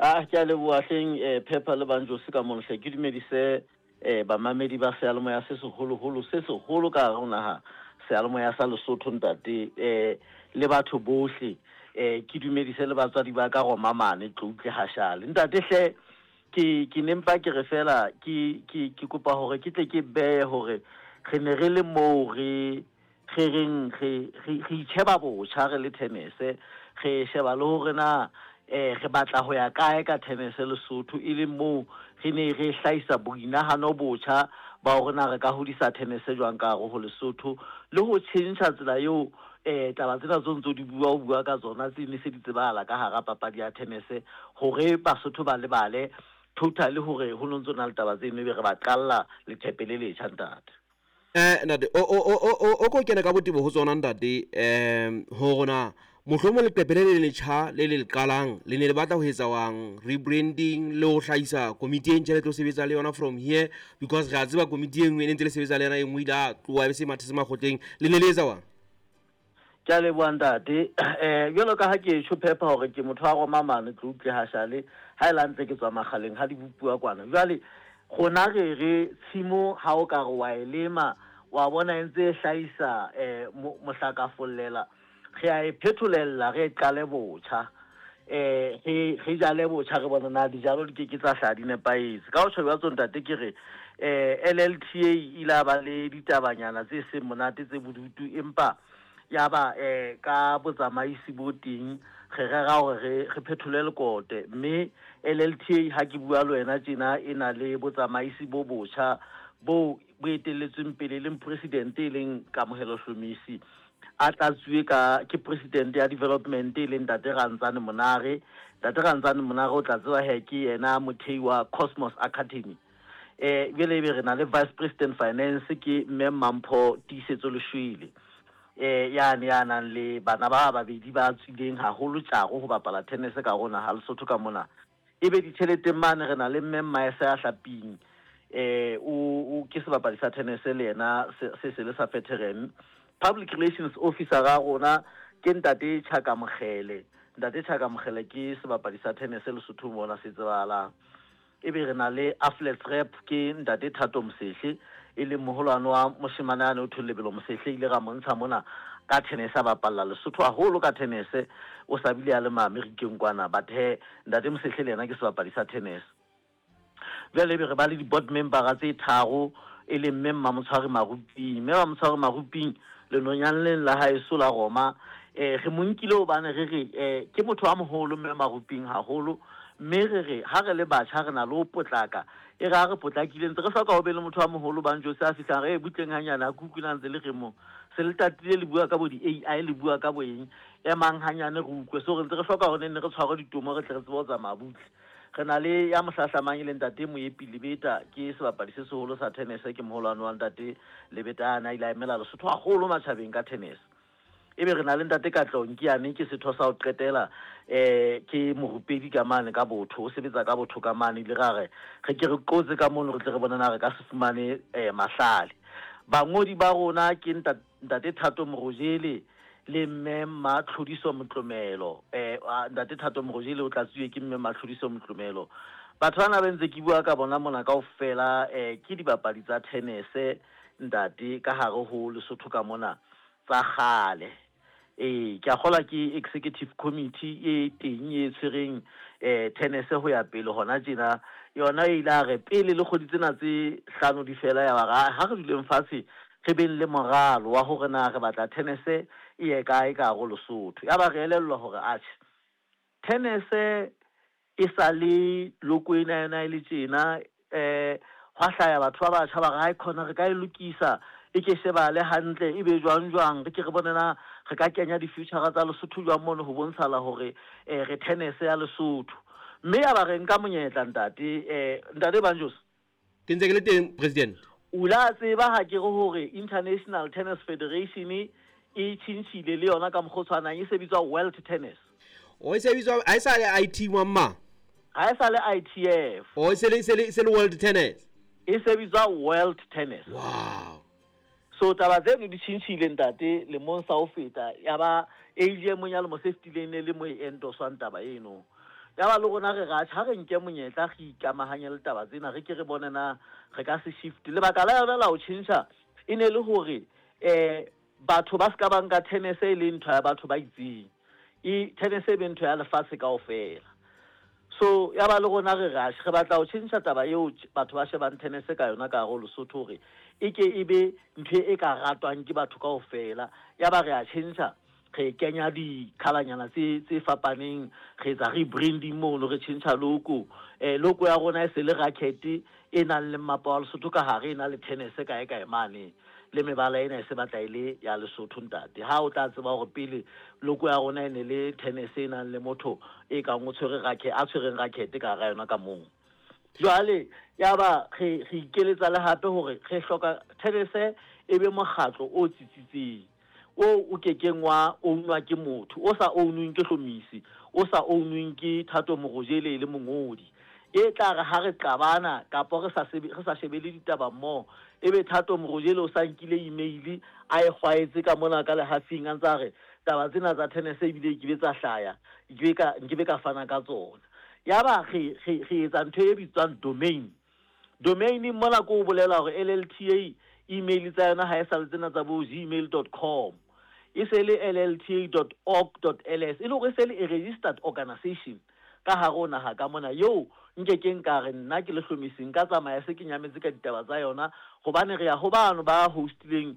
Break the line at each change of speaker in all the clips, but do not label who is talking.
Ah, ke a leboha hleng Phepha le Banjose ka mono hle. Ke dumedise bamamedi ba seyalemoya se seholoholo se seholo ka hare ho naha, seyalemoya sa Lesotho ntate, le batho bohle. Ke dumedise le batswadi ba ka Roma mane Tloutle Hashale. Ntate hle ke ke ne mpa ke re fela ke ke ke kopa hore ke tle ke beye hore re ne re le moo re re reng re re re itjheba botjha re le tenese, re sheba le hore na re batla ho ya kae ka tenese Lesotho, e leng moo re ne re hlahisa boinahano botjha ba hore na re ka hodisa tenese jwang ka hare ho Lesotho, le ho tjhentjha tsela eo taba tsena tseo ntso di bua o bua ka tsona tse ne se di tsebahala ka hara papadi ya tenese, hore Basotho ba lebale totally hore ho no ntso na le taba tseno, ebe re ba qalla leqhepe le letjha ntate.
Ntate, o o o o o ko kene ka botebo ho tsona ntate, hore na mohlomong leqephe le le letjha le le qalang le ne le batla ho etsa wang rebranding le ho hlahisa komiti e ntjha le tlo sebetsa le yona from here, because re a tseba komiti e nngwe e ne ntse le sebetsa le yona, e nngwe ile a tloha e be se mathetse makgotleng, le ne le etsa wang?
Ke a leboha ntate. Jwalo ka ha ke tjho Phepha hore ke motho wa Roma mane Tloutle Hashale, ha e le hantle ke tswa Makgaleng ha di bopuwa kwana. Jwale rona re re tshimo ha o ka re wa e lema, wa bona e ntse e hlahisa mohlakafollela, re a e phetholella re e qale botjha. Re re jale botjha re bone na dijalo di ke ke tsa hlaha di nepahetse. Ka ho tjho jwatso ntate ke re LLTA e ile ya ba le ditabanyana tse seng monate tse bodutu, empa ya ba ka botsamaisi bo teng re rera hore re re phethole lekote, mme LLTA ha ke bua le wena tjena e na le botsamaisi bo botjha bo bo etelletsweng pele, e leng president e leng Kamohelo Hlomisi, a tlatsuwe ka ke president ya development e leng Ntate Rantsane Monare. Ntate Rantsane Monare o tla tseba he ke yena mothei wa Cosmos Academy. Jwale ebe re na le vice president finance ke Mme Mampho Tiisetso Leshwele, yane ya nang le bana ba babedi ba tswileng haholo tjaro ho bapala tennis ka rona ha Lesotho ka mona. Ebe ditjheleteng mane re na le Mme Mmaesa ya Hlaping, o ke sebapadi sa tennis le yena se se le sa veteran. Public relations officer ra rona ke Ntate Chaka Mokgele. Ntate Chaka Mokgele ke sebapadi sa tennis Lesotho mona se tsebahalang. Ebe re na le athletes rep ke Ntate Thato Mosehle, e leng moholwane wa moshemane ane o thong Lebelo Mosehle, ile ra montsha mona ka tennis, a bapalla Lesotho haholo ka tennis, o sa bile a le ma-Amerikeng kwana, but he Ntate Mosehle le yena ke sebapadi sa tennis. Jwale ebe re ba le di-board membera tse tharo, e leng Mme Mmamotshwari Maruping. Mme Mmamotshwari Maruping lenonyaneng la haeso la Roma, re mo nkile hobane re re ke motho a moholo Mme Maruping haholo, mme re re ha re le batjha re na le ho potlaka, e re ha re potlakile ntse re hloka ho be le motho a moholo Banjose a fihlang re butleng hanyane a kuku na ntse le re mo se le tatile le bua ka bo di-A_I le bua ka bo eng, emang hanyane re utlwe. So re ntse re hloka hore ne nne re tshwarwe ditomo re tle re tsebe ho tsamaya butle. Re na le ya mohlahlamang e leng Ntate Moepi Lebeta, ke sebapadi se seholo sa tennis, ke moholwane wa Ntate Lebeta a na ile a emela Lesotho haholo matjhabeng ka tennis. Ebe re na le Ntate Katleho Nkiane, ke setho sa ho qetela, ke morupedi ka mane ka botho, o sebetsa ka botho ka mane, ile ra re re ke re qotse ka mono re tle re bone na re ka se fumane mahlale. Bangodi ba rona ke Ntate Thato Morojele le Mme Matlhodiso Motlomelo. Ntate Thato Morojele o tlatsuwe ke Mme Matlhodiso Motlomelo. Batho bana ba ntse ke bua ka bona mona kaofela, ke dibapadi tsa tennis ntate ka hare ho Lesotho ka mona tsa kgale. Ke a kgolwa ke executive committee e teng e tshwereng tennis ho ya pele hona tjena. Yona e ile a re pele le kgwedi tsena tse hlano di fela, ya ba ha re duleng fatshe re beng le moralo wa hore na re batla tennis e ye kae ka hare ho Lesotho. Ya ba re elellwa hore atjhe tennis e sa le loko ena yona e le tjena, hwa hlaya batho ba batjha ba re hai khona re ka e lokisa e ke shebale hantle e be jwang jwang, re ke re bone na re ka kenya di-future tsa Lesotho jwang mono ho bontshala hore re tennis ya Lesotho. Mme ya ba re nka monyetla ntate, ntate Banjos.
Ke ntse ke le teng president.
O la tseba ha ke re hore International Tennis Federation e tjhentjhile le yona ka mokgwa o tshwanang, e se bitswa World Tennis.
O e se bitswa, ha e sa le IT mamma.
Ha e sa le ITF.
O e se le, se le World Tennis.
E se bitswa World Tennis.
Wow.
So taba tseno di tjhentjhile ntate lemong sa ho feta, ya ba AGM ya lemo se fetileng ne le mo e endoswang taba eno. Ya ba le rona re re atjhe, ha re nke monyetla re ikamahanye le taba tsena, re ke re bone na re ka se shift. Lebaka la yona la ho tjhentjha e ne le hore batho ba ska ba nka tennis e le ntho ya batho ba itseng. E tennis e be ntho ya lefatshe kaofela. So ya ba le rona re re atjhe, re batla ho tjhentjha taba eo batho ba shebang tennis ka yona ka hare ho Lesotho hore e ke e be ntho e ka ratwang ke batho kaofela. Ya ba re a tjhentjha, re kenya dikhalanyana tse fapaneng, re etsa rebranding mono, re tjhentjha logo. Logo ya rona e se le racket e nang le mmapa wa Lesotho ka hare, e na le tennis kae kae mane, le mebala ena e se batla e le ya Lesotho ntate. Ha o tla tseba hore pele logo ya rona e ne le tennis e nang le motho e kang o tshwere racket, a tshwereng racket ka hara yona ka moo. Jwale ya ba re ikeletsa le hape hore re hloka tennis e be mokgatlo o tsitsitseng, o kekeng wa ownwa ke motho, o sa ownweng ke Hlomisi, o sa ownweng ke Thato Morojele le mongodi. E tla re ha re qabana kapa re sa shebele ditaba mmoho, ebe Thato Morojele o sa nkile email a e kgwaetse ka mona ka lehafing a ntsa re taba tsena tsa tennis ebile ke be tsa hlaya, nke be ka fana ka tsona. Ya ba re etsa ntho e bitswang domain. Domain mona ko bolela hore LLTA email tsa yona ha e sa le tsena tsa bo gmail.com, e se le llta.org.ls, e le hore e se le a registered organization ka hare ho naha ka mona. Eo nkekeng ka re nna ke le Hlomisi nka tsamaya se ke nyametse ka ditaba tsa yona, hobane re ya ho bano ba hostileng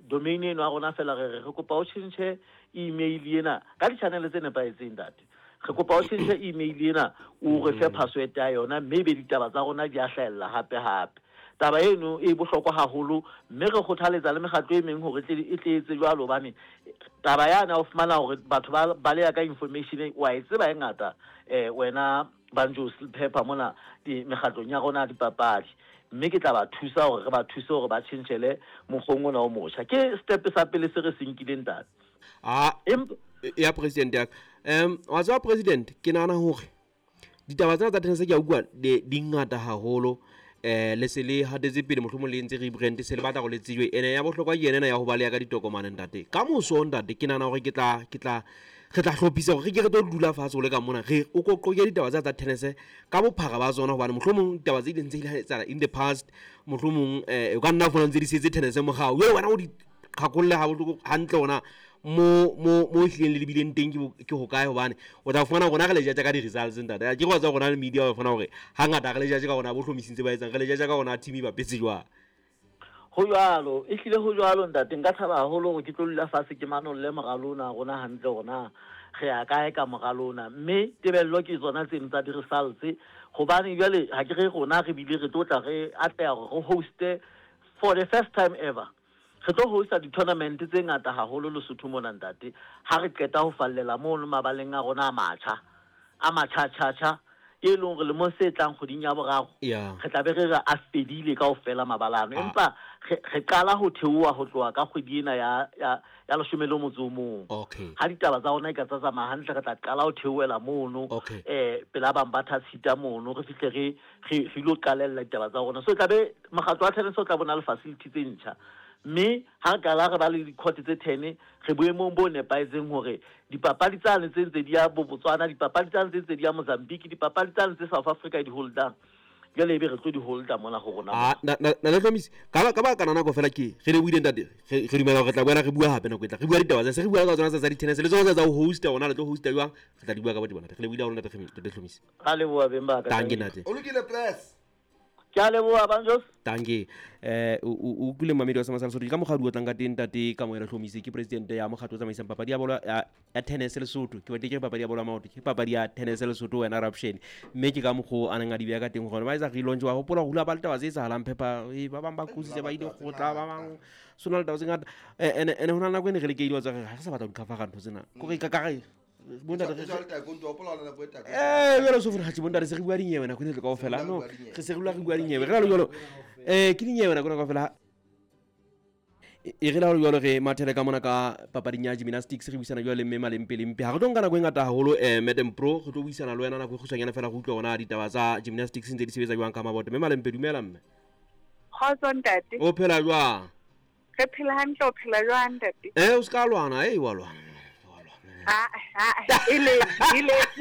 domain eno ya rona fela, re re kopa o tjhentjhe email ena ka di-channel tse nepahetseng ntate. Re kopa o tjhentjhe email ena, o re fe password ya yona, mme ebe ditaba tsa rona di a hlahella hape hape. Taba eno e bohlokwa haholo, mme re kgothaletsa le mekgatlo e meng hore e tle etse jwalo, hobane taba yana o fumana hore batho ba baleha ka information wa e tseba e ngata, wena Banjo Pepper mona mekgatlong ya rona ya dipapadi, mme ke tla ba thusa hore re ba thuse hore ba tjhentjhele mokgong ona o motjha. Ke step sa pele se re se nkileng ntate.
Ya president ya wa tseba president, ke nahana hore ditaba tsena tsa tennis ke a utlwa di ngata haholo. Le se le hatetse pele, mohlomong le entse rebrand, se le batla hore le tsejwe. Ene ya bohlokwa ke ena ya ho baleha ka ditokomane ntate. Ka moso ntate, ke nahana hore re tla hlophisa hore re ke re tlo dula fatshe ho le ka mona, re o qoqe ditaba tsa tennis ka bophara ba tsona, hobane mohlomong ditaba tse ileng tse ile etsahala in the past, mohlomong o ka nna fumana ntse di setse tennis morao. Jwale wena o di qhakolle ha bohloko hantle ona mo ehlileng le lebileng teng ke hokae, hobane o tla fumana rona re le judge ka di-results ntate. Ke go tsa rona le media o fumana hore hangata re le judge ka rona bo hlomisitse ba etsang, re le judge ka rona team e bapetse jwang.
Ho jwalo, ehlile ho jwalo ntate. Nka thaba haholo hore ke tlo dula fatshe ke manolle moralo ona rona hantle hore re ya kae ka moralo ona, mme tebello ke tsona tseno tsa di-results, hobane jwale ha ke re rona re bile re tlo tla re atleha hore re hoste for the first time ever. Re tlo hosta di-tournament tse ngata haholo Lesotho mona ntate, ha re qeta ho fallela mono mabaleng a rona a matjha, a matjha-tjha-tjha, e leng hore lemong se tlang kgweding ya boraro re tla be re re a fedile kaofela mabala ano. Empa re qala ho theoha ho tloha ka kgwedi ena ya 11. Ha ditaba tsa rona e ka tsa tsamaya hantle, re tla qala ho theohela mono, pela bang ba thatshita mono, re fihle re ilo qalella ditaba tsa rona. So tla be mokgatlo wa tennis o tla bona le facility tse ntjha, mme ha re qala re ba le di-court tse 10, re boemong bo nepahetseng hore dipapadi tsane tse ntse di ya bo Botswana, dipapadi tsane tse ntse di ya Mozambique, dipapadi tsane tse South Africa di holdang, jwale ebe re tlo di holda mona ho rona.
Na le Hlomisi, ka ba kana nako fela ke re le buile ntate, re dumela hore re tla boela re bua hape nako e tla. Re bua ditaba tsa se re bua ka tsona tsa di-tennis le tsona tsa ho hosta, rona le tlo hosta jwang, re tla di bua ka botebo ntate. Re le buile haholo ntate, ntate Hlomisi.
Ra leboha beng ba ka.
Dankie ntate.
O lokile press.
Ke a leboha Banjos.
Dankie. O utlwile mamedi wa Sama sa Lesotho ka mokgwa o tlang ka teng ntate Kamohelo Hlomisi, ke president ya mokgatlo o tsamaisang papadi ya bolo ya tennis Lesotho. Ke batle ke re papadi ya bolo ya maoto, ke papadi ya tennis Lesotho wena Raption. Mme ke ka mokgwa a neng a di beha ka teng hore ba etsa relaunch, wa hopola hore hula ba le taba tse etsahalang Pepper, ba bang ba qositse ba ile kgotla, ba bang sona le taba tse ngata. Ene ho na le nako e ne re lekehile wa tsa re ha re sa batla ho di cover ntho tsena. Kore ka re jwale so funa bontate se re bua dinyewe nako ena kaofela. No, re se re dula re bua dinyewe. Re jwalo ke dinyewe nako ena kaofela. E re la jwalo re mathele ka mona ka papading ya gymnastics, re buisana jwale le mme Malempe Lempe. Ha re tlo nka nako e ngata haholo, Madam Pro, re tlo buisana le wena nako e kgutshwanyane fela go utlwa hore na ditaba tsa gymnastics ntse di sebetsa jwang ka Mabote. Mme Malempe, dumela mme.
Kgotso ntate.
O phela jwang?
Re phela hantle, o phela jwang ntate?
O ska lwana, wa lwana.
Ile.